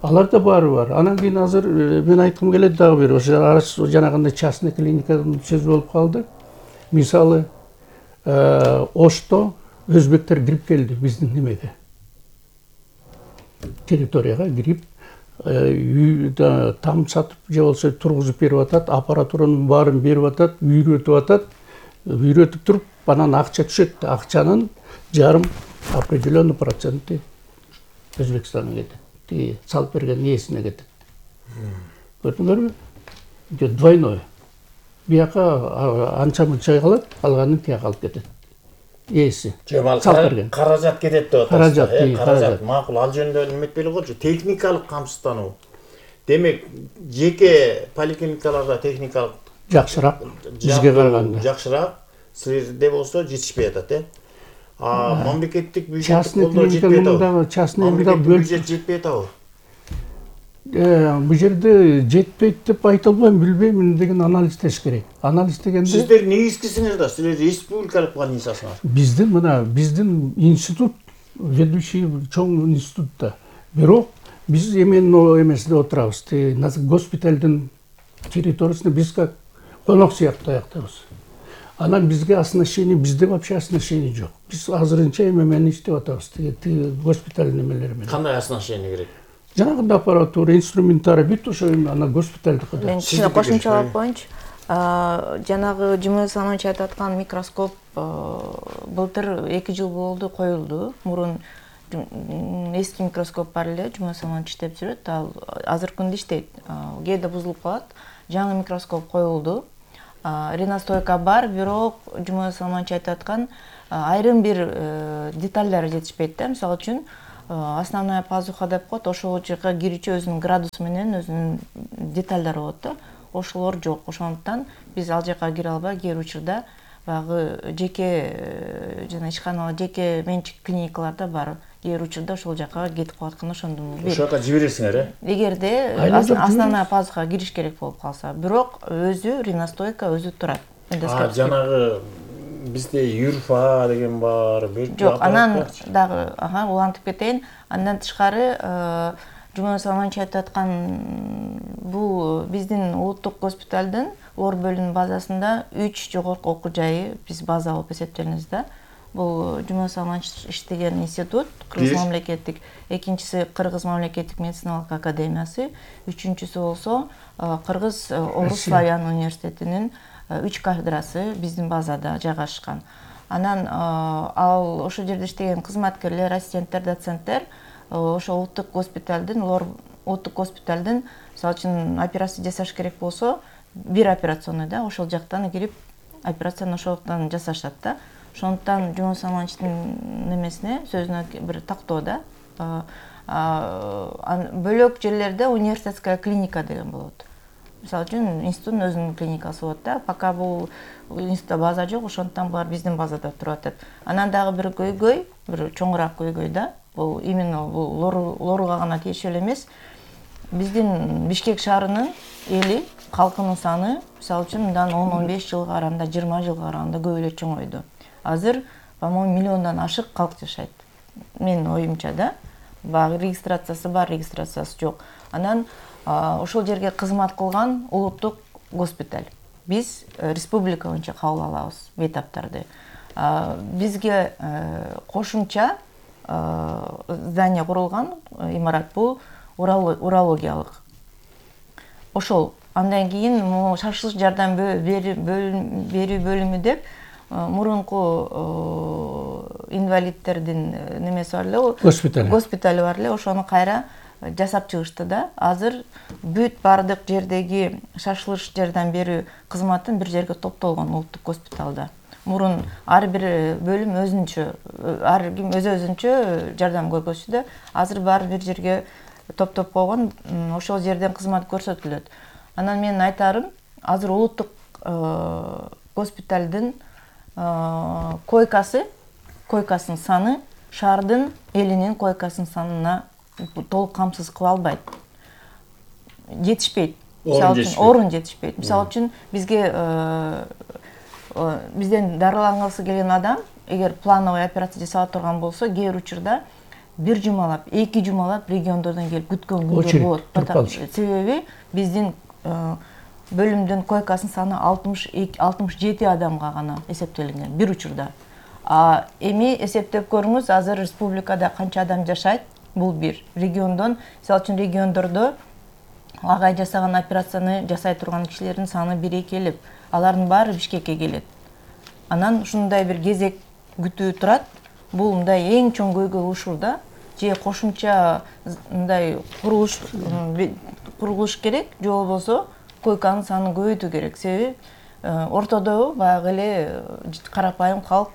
Аларда баары бар. Анан кийин азыр мен айткым келет дагы бир, ошо жанагындай частный клиникадан сөз болуп калды. Мисалы Ошто өзбектер кирип келди биздин немеге. Территорияга кирип там сатып же болсо тургузуп берип атат, аппаратуранын баарын берип атат, үйрөтүп атат. Үйрөтүп туруп, анан акча түшөт. Акчанын жарым определенный проценти Өзбекстанга кетет. Салып берген ээсине кетет. Көрдүңөрбү? Двойной. Бияка анча-мынча калат, алганын тияка алып кетет. Ээси. Салып берген. Каражат кетет деп атасыз. Каражат. Макул, ал жөнүндө эметпей эле койчу. Техникалык камсыздануу. Демек, жеке поликлиникаларда техникалык жакшыраак бизге караганда. Жакшыраак. Силерде болсо жетишпей атат, мамлекеттик бюджет частный клиникада, частный бюджет жетпей атабы? Бул жерде жетпейт деп айта албайм, билбейм, эмне деген анализдеш керек. Анализ дегенде сиздер негизгисиңер да, силер республикалык больницасыңар. Биздин институт, ведущий чоң институт да. Бирок биз эмени эмесинде отурабыз. Госпиталдын территориясында биз как конок сыяктуу аяктабыз. Анан бизге оснащение, бизде вообще оснащение жок. Биз азырынча эмени иштеп атабыз, тиги госпиталь немелери менен. Кандай оснащение керек? Жанагындай аппаратура, инструментарий бүт ошо ана госпитальдыкыда. Мен кичине кошумчалап коеюнчу. Жанагы Жумой Салманович айтып аткан микроскоп былтыр 2 жыл болду коюлду. Мурун эски микроскоп бар эле, Жумой Салманович иштеп жүрөт. Ал азыркы күндө иштейт. Кээде бузулуп калат. Жаңы микроскоп коюлду. Ренастойка бар, бирок Жумой Салманович айтып аткан айрым бир детальдары жетишпейт да. Мисалы үчүн основная пазуха деп коет, ошол жака кирүүчү өзүнүн градусу менен өзүнүн детальдары болот да. Ошолор жок. Ошондуктан биз ал жака кире албай, кээ учурда баягы жеке жана ишканалар, жеке менчик клиникаларда бар. Кээ учурда ошол жака кетип калып атканда ошондон бир. Ошол жака жибересиңер, э? Эгерде основная пазуха кириш керек болуп калса, бирок өзү ренастойка өзү турат. Жанагы бизде юрфа деген бар, жок, анан дагы улантып кетейин. Андан тышкары Жумой Салманович айтып аткан бул биздин улуттук госпиталдын лор бөлүмүнүн базасында 3 жогорку окуу жайы биз база болуп эсептейбиз да. Бул Жумой Салманович иштеген институт, Кыргыз мамлекеттик, экинчиси Кыргыз мамлекеттик медициналык академиясы, үчүнчүсү болсо Кыргыз Орус Славян университетинин 3 кафедрасы биздин базада жайгашкан. Анан ал ошол жерде иштеген кызматкерлер, ассистенттер, доценттер ошо улуттук госпиталдын, мисалы үчүн операция жасаш керек болсо, бир операционный да, ошол жактан кирип операцияны ошондон жасашат да. Ошондуктан Жумой Салмановичтин немесине, сөзүнө бир тактоо да. Бөлөк жерлерде университетская клиника деген болот. Мисалы үчүн институттун өзүнүн клиникасы болот да. Пока бул институтта база жок, ошондуктан булар биздин базада туруп атат. Анан дагы бир көйгөй, бир чоңураак көйгөй да. Бул именно бул лоруга гана тиешелүү эмес. Биздин Бишкек шаарынын эли, калкынын саны, мисалы үчүн мындан 10-15 жылга караганда, 20 жылга караганда көп эле чоңойду. Азыр, по-моему, миллиондон ашык калк жашайт. Менин оюмча да. Багы регистрациясы бар, регистрациясы жок. Анан ошол жерге кызмат кылган улуттук госпиталь. Биз республика боюнча кабыл алабыз бейтаптарды. Бизге кошумча здание курулган, имарат бул урологиялык. Ошол андан кийин шашылыш жардам берүү бөлүмү деп мурунку инвалидтердин немеси бар эле, госпитали бар эле, ошону кайра жасап чыгышты да. Азыр бүт бардык жердеги шашылыш жардам берүү кызматын бир жерге топтолгон улуттук госпиталда. Мурун ар бир бөлүм өзүнчө, ар ким өзүнчө жардам көргөзчү да. Азыр баары бир жерге топтоп койгон, ошол жерден кызмат көрсөтүлөт. Анан менин айтарым, азыр улуттук госпиталдын койкасынын саны шаардын элинин койкасынын санына толук камсыз кыла албайт. Жетишпейт. Орун жетишпейт. Мисалы үчүн бизден дарылангысы келген адам, эгер плановый операция жасала турган болсо, кээ учурда 1 жумалап, 2 жумалап региондордон келип күткөн күндөр болот. Себеби биздин бөлүмдүн койкасынын саны 67 адамга гана эсептелинген бир учурда. Эми эсептеп көрүңүз, азыр республикада канча адам жашайт? Бул бир. Региондон, мисалы үчүн региондордо агай жасаган операцияны жасай турган кишилердин саны 1 келип, алардын баары Бишкекке келет. Анан ушундай бир кезек күтүү турат. Бул мындай эң чоң көйгөй ушул да. Же кошумча мындай курулуш керек, же болбосо койканын санын көбөйтүү керек. Себеби ортодо баягы эле карапайым калк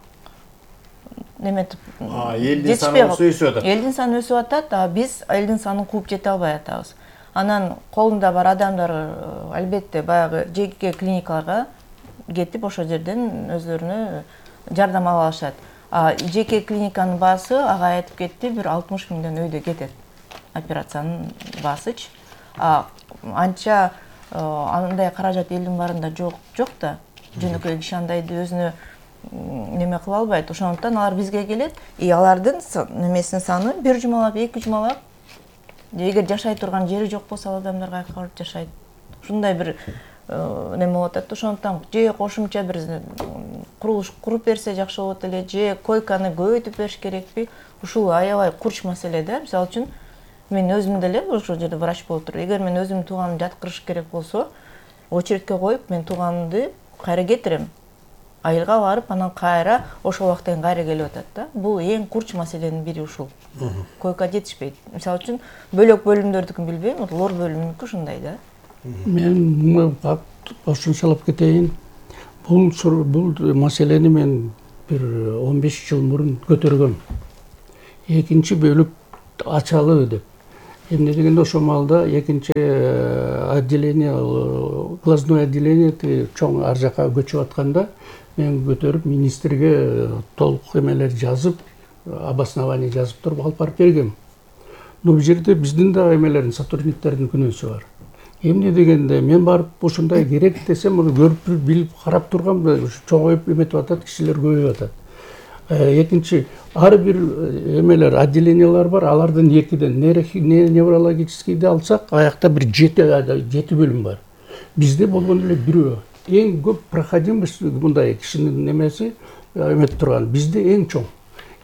неметип элдин саны өсүп атат. Элдин саны өсүп атат, биз элдин санын кууп жете албай атабыз. Анан колунда бар адамдар албетте баягы жеке клиникаларга кетип ошол жерден өзлөрүнө жардам ала алышат. Жеке клиниканын баасы ага айтып кетти, бир 60 миңден өйдө кетет операциянын баасычы. Анча андай каражат элдин баарында жок да. Жөнөкөй киши андайды өзүнө неме кыла албайт. Ошондуктан алар бизге келет, алардын немесинин саны 1 жумалап, 2 жумалап, эгер жашай турган жери жок болсо, адамдар кайка барып жашайт. Ушундай бир неме болуп атат. Ошондуктан же кошумча бир курулуш куруп берсе жакшы болот эле, же койканы көбөйтүп бериш керекпи? Ушул аябай курч маселе да. Мисалы үчүн мен өзүм деле ошол жерде врач болуп туруп, эгер мен өзүмдүн тууганымды жаткырыш керек болсо, очередке коюп мен тууганымды кайра кетирем. Айылга барып, анан кайра ошол убакта кайра келип атат да. Бул эң курч маселенин бири ушул. Койка жетишпейт. Мисалы үчүн бөлөк бөлүмдөрдүкүн билбейм, лор бөлүмүнүкү ушундай да. Мен кошумчалап кетейин. Бул маселени мен бир 15 жыл мурун көтөргөм. Экинчи бөлүк ачалы деп. Эмне дегенде ошол маалда экинчи отделение, глазное отделение чоң ар жака көчүп атканда мен көтөрүп министрге толук эмелер жазып, обоснование жазып туруп алып барып бергем. Но бул жерде биздин да эмелердин сотрудниктердин күнөөсү бар. Эмне дегенде мен барып ушундай керек десем, муну көрүп билип карап тургам, чоңоюп эметип атат, кишилер көбөйүп атат. Экинчи, ар бир эмелер, отделениялар бар, алардын экиден неврологическийди алсак, аякта бир 7 бөлүм бар. Бизде болгон эле бирөө. Эң көп проходимость мындай кишинин немеси эметип турган. Бизде эң чоң.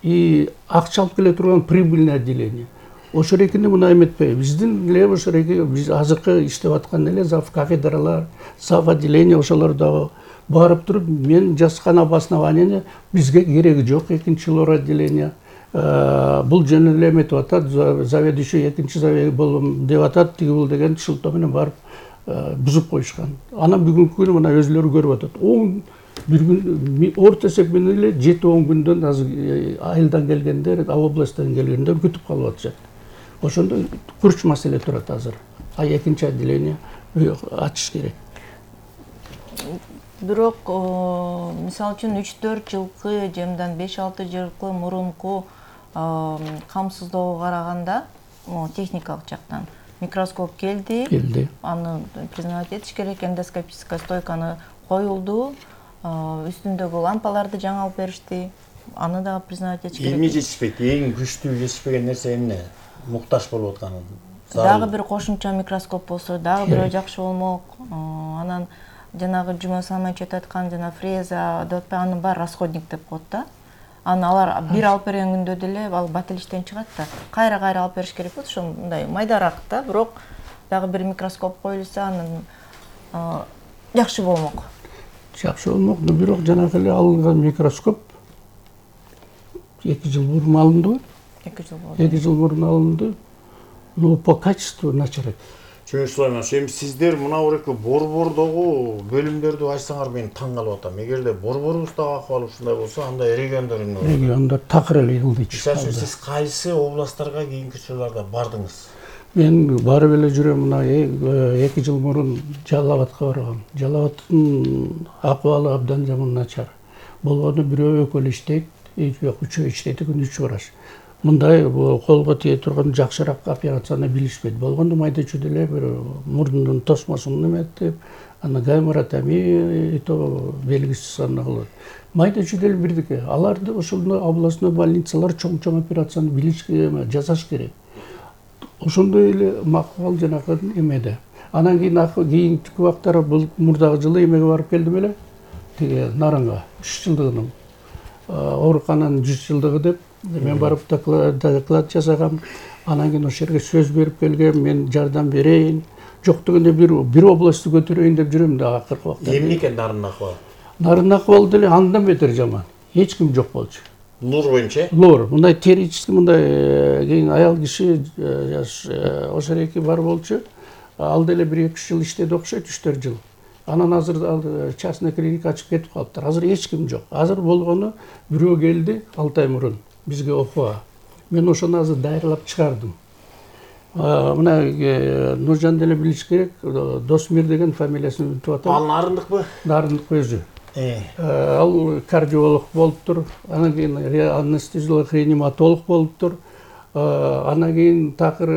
И акча алып келе турган прибыльный отделение. Ошол экини мына эметпей. Биздин эле ошол эки биз азыркы иштеп аткан эле зав кафедралар, зав отделение ошолор дагы барып туруп мен жазган обоснованияны бизге кереги жок экинчи лор отделение. Бул жөн эле эметип атат, заведующий экинчи заведующий болом деп атат, тиги бул деген шылтоо менен барып бузуп коюшкан. Анан бүгүнкү күнү мына өзүлөрү көрүп атат. Бир күн орто эсеп менен эле 7-10 күндөн азыр айылдан келгендер, областтан келгендер күтүп калып атышат. Ошондо курч маселе турат азыр. Экинчи отделение ачыш керек. Бирок, мисалы үчүн 3-4 жылкы, жемдан 5-6 жылкы мурунку камсыздоого караганда, техникалык жактан микроскоп келди. Аны признавать этиш керек, эндоскопическая стойканы коюлду, үстүндөгү лампаларды жаңы алып беришти. Аны дагы признавать этиш керек. Эмне жетишпейт? Эң күчтүү жетишпеген нерсе эмне? Муктаж болуп атканы. Дагы бир кошумча микроскоп болсо, дагы бирөө жакшы болмок. Анан жанагы Жумой Салманович айтып аткан жана фреза деп атпайбы, анын баары расходник деп коет да. Аны алар бир алып берген күндө деле ал бателиштен чыгат да. Кайра алып бериш керек болот, ошо мындай майдараак да, бирок дагы бир микроскоп коюлса анын жакшы болмок. Жакшы болмок, но бирок жанагы эле алынган микроскоп 2 жыл мурун алынды. 2 жыл мурун алынды. Но по качеству начар. Чөмүш Сулайманович, эми сиздер мына буреки борбордогу бөлүмдөрдү ачсаңар мен таң калып атам. Эгерде борборубуздагы акыбал ушундай болсо, анда региондор эмне болот? Региондор такыр эле ылдый чыкат. Сиз кайсы областтарга кийинки учурларда бардыңыз? Мен барып эле жүрөм, мына 2 жыл мурун Жалал Абадка баргам. Жалал Абадтын акыбалы абдан жаман начар. Болгону бирөө экөө эле иштейт, үчөө иштейт экен, 3 врач. Мындай колго тие турган жакшыраак операцияны билишпейт. Болгондо майда чүйдө эле бир мурдунун тосмосун эметип, аны гайморотомия то белгисиз аны кылат. Майда чүйдө эле бирдике. Аларды ошондой областной больницалар чоң операцияны билиш, жасаш керек. Ошондой эле макал жанагы эмеде. Анан кийинки убактары бул мурдагы жылы эмеге барып келдим эле. Тиги Нарынга 3 жылдыгынын оорукананын 100 жылдыгы деп мен барып доклад жасагам. Анан кийин ошол жерге сөз берип келгем, мен жардам берейин. Жок дегенде бир областты көтөрөйүн деп жүрөм да акыркы убакта. Эмне экен Нарындын акыбалы? Нарындын акыбалы деле андан бетер жаман. Эч ким жок болчу. Лор боюнча? Лор. Мындай терически мындай кийин аял киши ошол эки бар болчу. Ал деле 1-2 жыл иштеди окшойт, 3-4 жыл. Анан азыр частный клиника ачып кетип калыптыр. Азыр эч ким жок. Азыр болгону бирөө келди 6 ай мурун бизге окууга. Мен ошону азыр дайырлап чыгардым. Мына Нуржан деле билиш керек, Досмир деген фамилиясын унутуп атам. Ал Нарындыкпы? Нарындык өзү. Ал кардиолог болуптур, анан кийин анестезиолог, реаниматолог болуптур. Анан кийин такыр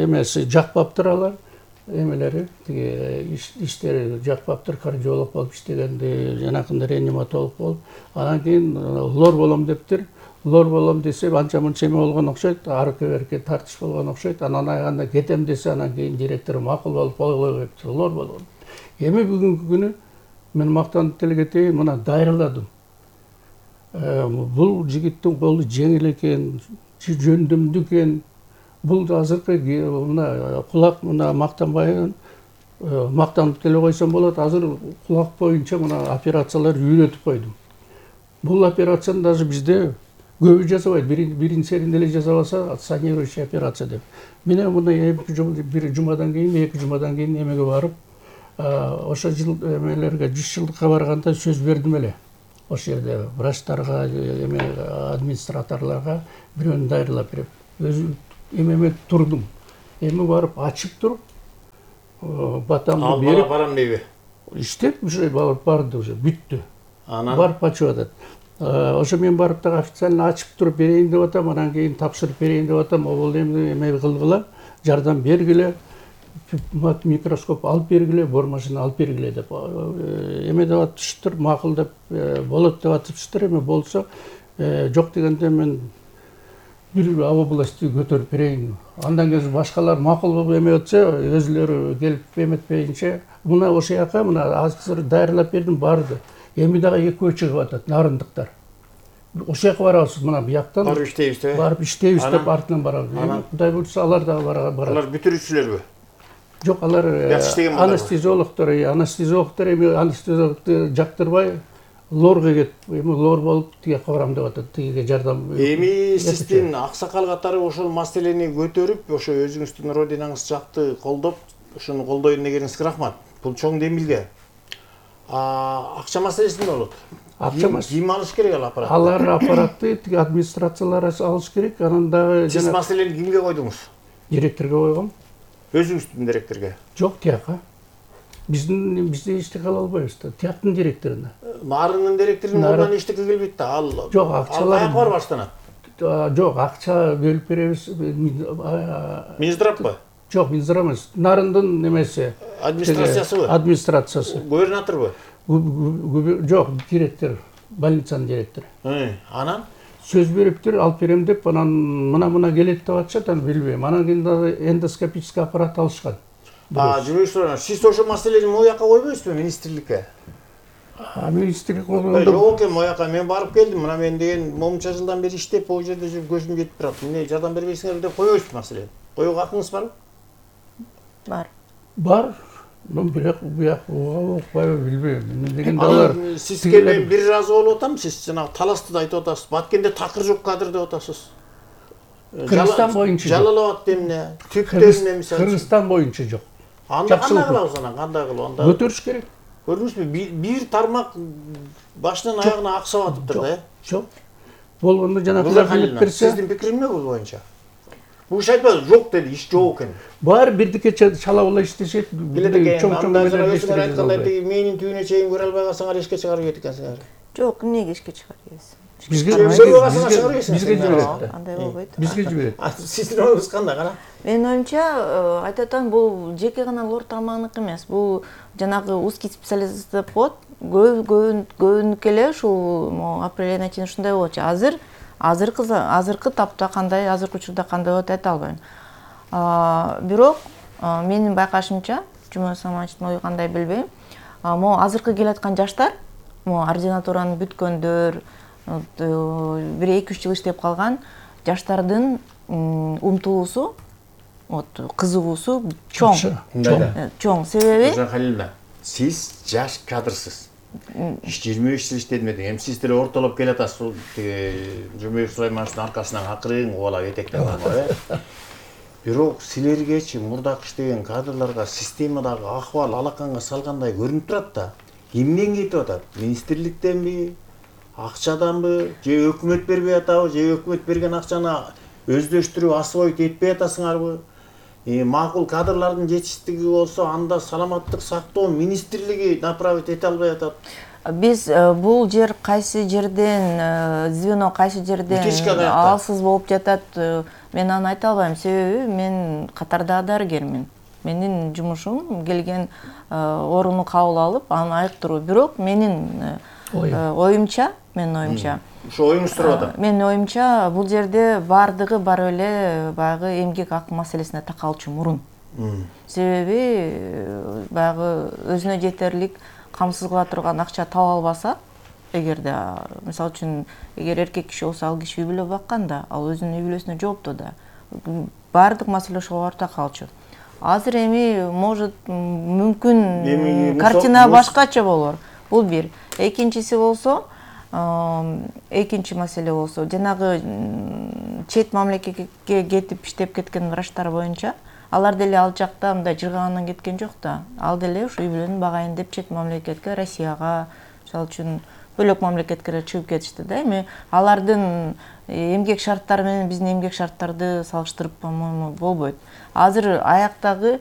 эмеси жакпаптыр алар. Эмелери, тиги иштери жакпаптыр, кардиолог болуп иштегенди, жанакында реаниматолог болуп. Анан кийин лор болом дептир. Лор болом десе, анча мынча эме болгон окшойт, аркы-берки тартыш болгон окшойт. Анан айганда кетем десе, анан кийин директор макул болуп койгой деп лор болгон. Эми бүгүнкү күнү мен мактанып деле кетейин, мына дайырладым. Бул жигиттин колу жеңил экен, жөндөмдүү экен. Бул азыркы мына кулак мына мактанбайын мактанып деле койсом болот. Азыр кулак боюнча мына операциялар үйрөтүп койдум. Бул операцияны даже бизде көбү жасабайт. Биринчи серин деле жасабаса, санирующий операция деп. Мен мына бир жумадан кийин, 2 жумадан кийин эмеге барып, ошо жыл эмелерге 100 жылдыкка барганда сөз бердим эле. Ошол жерде врачтарга, администраторлорго бирөөнү дайырлап берип, өзүм эмеме турдум. Эми барып ачып туруп, батамды берип, барам дейби? иштеп уже барды, уже бүттү. Анан Барып ачып атат. Ошо мен барып так официально ачып туруп берейин деп атам, анан кийин тапшырып берейин деп атам. Обол эме кылгыла, жардам бергиле, микроскоп алып бергиле, бор машина алып бергиле деп эме деп атышыптыр, макул деп болот деп атышыптыр. Эми болсо жок дегенде мен бир области көтөрүп берейин. Андан кийин башкалар макул болуп эме өтсө, өзүлөрү келип эметпейинче, мына ошол жака мына азыр дайырлап бердим, барды. Эми дагы экөө чыгып атат, нарындыктар. Ошол жака барабыз, мына бияктан. барып иштейбиз деп. Барып иштейбиз деп артынан барабыз. Эми Кудай буйрса алар дагы барат. Алар бүтүрүүчүлөрбү? Жок, алар анестезиологдор, эми анестезиологду жактырбай лорго кетип, эми лор болуп тиге барам деп атат, тигиге жардам. Эми сиздин аксакал катары ошол маселени көтөрүп, ошо өзүңүздүн родинаңыз жакты колдоп, ошону колдойм дегениңизге рахмат. Бул чоң демилге. Акча маселеси эмне болот? Акча маселеси. Ким алыш керек ал аппарат? Алар аппаратты тиги администрациялар алыш керек. Анан дагы Сиз маселени кимге койдуңуз? директорго койгом. Өзүңүздүн директорго? Жок, тияка. Бизде эчтеке кыла албайбыз да. Тияктын директоруна. Нарынын директорунун ордунан эчтеке келбейт да. Ал жок, акчалар. Аяк бар баштанат. Жок, акча бөлүп беребиз. Минздравбы? Жок, Минздрав эмес. Нарындын немеси. Администрациясыбы? Администрациясы. Губернаторбу? Жок, директор, больницанын директору. Анан? Сөз бериптир, алып берем деп, анан мына келет деп атышат, аны билбейм. Анан кийин дагы эндоскопический аппарат алышкан. Жүрөкчүлөр, сиз ошол маселени мояка койбойсузбу министрликке? Министрлик Жок экен, мояка мен барып келдим. Мына мен деген момунча жылдан бери иштеп, бул жерде жүрүп көзүм жетип турат. Эмне жардам бербейсиңер деп койбойсузбу маселени? Коюуга акыңыз барбы? Бар. Мен бирок буяк окпайбы билбейм. Эмне дегенде алар сиз келбей бир разы болуп атам, сиз жанагы таласты да айтып атасыз. Баткенде такыр жок кадр деп атасыз. Кыргызстан боюнча. Жалал Абад эмне? Түптө эмне мисалы? Кыргызстан боюнча жок. Анда кандай кылабыз анан? Кандай кылып анда? Көтөрүш керек. Көрдүңүзбү? Бир тармак башынан аягына аксап атыптыр да. Жок. Болгондо жанагы рахмет берсе. Сиздин пикириңиз эмне бул боюнча? Бул иш айтпады, жок деди, иш жок экен. Бар бирдике чалабыла иштешет. Чоң өзүңөр айткандай тиги мээнин түбүнө чейин көрө албай калсаңар эшикке чыгарып ийет экенсиңер. Жок, эмнеге эшикке чыгарабыз? Бизге жиберет. Андай болбойт. Бизге жиберет. Сиздин оюңуз кандай кара? Менин оюмча, айтып атам, бул жеке гана лор тармагыныкы эмес. Бул жанагы узкий специалист деп коет. Көбүнүкү эле ушул апрель чейин ушундай болчу. Азыркы тапта кандай, азыркы учурда кандай болот айта албайм. Бирок менин байкашымча, Жумой Самановичтин ою кандай билбейм. Могу азыркы келаткан жаштар, могу ординатураны бүткөндөр, бир 2-3 жыл иштеп калган жаштардын умтулуусу, кызыгуусу чоң. Себеби Халиловна, сиз жаш кадрсыз. 25 жыл иштедим деди. Эми сиз деле ортолоп келатасыз. Жумабек Сулаймановичтин аркасынан акырын кубалап этектеп алган. Бирок силергечи мурдак иштеген кадрларга системадагы акыбал алаканга салгандай көрүнүп турат да. Кимден кетип атат? Министрликтенби? Акчаданбы? Же өкмөт бербей атабы? Же өкмөт берген акчаны өздөштүрүп асыбойт этпей атасыңарбы? Макул кадрлардын жетиштиги болсо, анда саламаттык сактоо министрлиги направить эте албай атат. Биз бул жер кайсы жерден, звено кайсы жерден алсыз болуп жатат, мен аны айта албайм. Себеби мен катарда дарыгермин. Менин жумушум келген орунду кабыл алып, аны айыктыруу. Бирок менин оюмча, Ошо оюңуз туруп атат. Менин оюмча, бул жерде бардыгы бар эле баягы эмгек акы маселесине такалчу мурун. Себеби баягы өзүнө жетерлик камсыз кыла турган акча таба албаса, эгерде мисалы үчүн эгер эркек киши болсо ал киши үй бүлө баккан да, ал өзүнүн үй бүлөсүнө жооптуу да. Баардык маселе ошого барып калчу. Азыр эми может мүмкүн картина башкача болор. Бул бир. Экинчиси болсо, экинчи маселе болсо, жанагы чет мамлекетке кетип иштеп кеткен врачтар боюнча, алар деле ал жакта мындай жыргагандан кеткен жок да. Ал деле ушу үй бүлөнү багайын деп чет мамлекетке, Россияга, мисалы үчүн бөлөк мамлекетке чыгып кетишти да. Эми алардын эмгек шарттары менен биздин эмгек шарттарды салыштырып, по-моему, болбойт. Азыр аяктагы